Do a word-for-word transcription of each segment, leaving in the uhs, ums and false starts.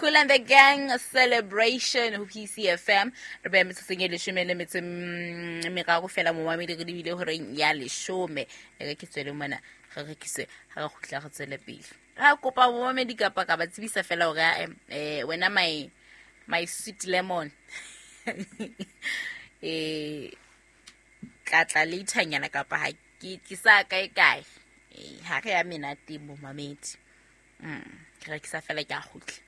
Kool and the Gang Celebration ho P C F M. Re beya metsotsong e leshome le metso mm, meraro fela, momamedi, re lebile horeng ya leshome. E re ke tswele mona, re rekise, ha re kgutla re tswele pele. Ra kopa momamedi kapa ka ba tsebisa fela hore eh wena, my my sweet lemon, eh ka tla laternyana kapa ha ke ke sa kae kae. Eh, ha re ya menate, momamedi. mm ke rekisa fela, ke a kgutla.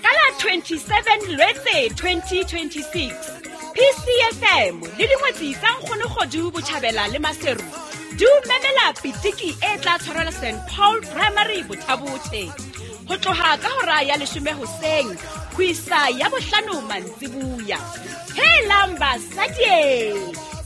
Ka la twenty-seven Lwetse twenty twenty-six, P C F M le dingwetsi tsa Nkgonokgodu Botjhabela le Maseru di o memela pitiki e tla tshwarelwa Saint Paul Primary, Bothabothe, ho tloha ka hora ya leshome hoseng ho isa ya bohlano mantsibuya. Helang basadie!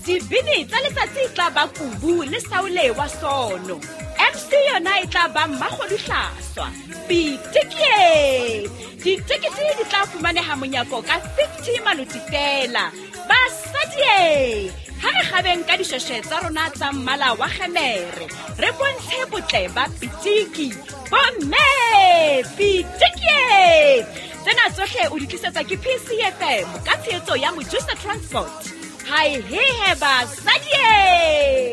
Dibini tsa letsatsi e tla ba Kubu le Saole wa Sono. M C yona e tla ba Mmakgoduhlaswa. Pitikie! Ditekete di tla fumaneha monyako ka fifty maloti fela. Basadie, ha re kgabeng ka dishweshwe tsa rona tsa mmala wa kgemere, re bontshe botle ba pitiki. Bomme, pitikie! Tsena tsohle o di tlisetswa ke P C F M ka tshehetso ya Mojusa Transport. Hai hehe basadie!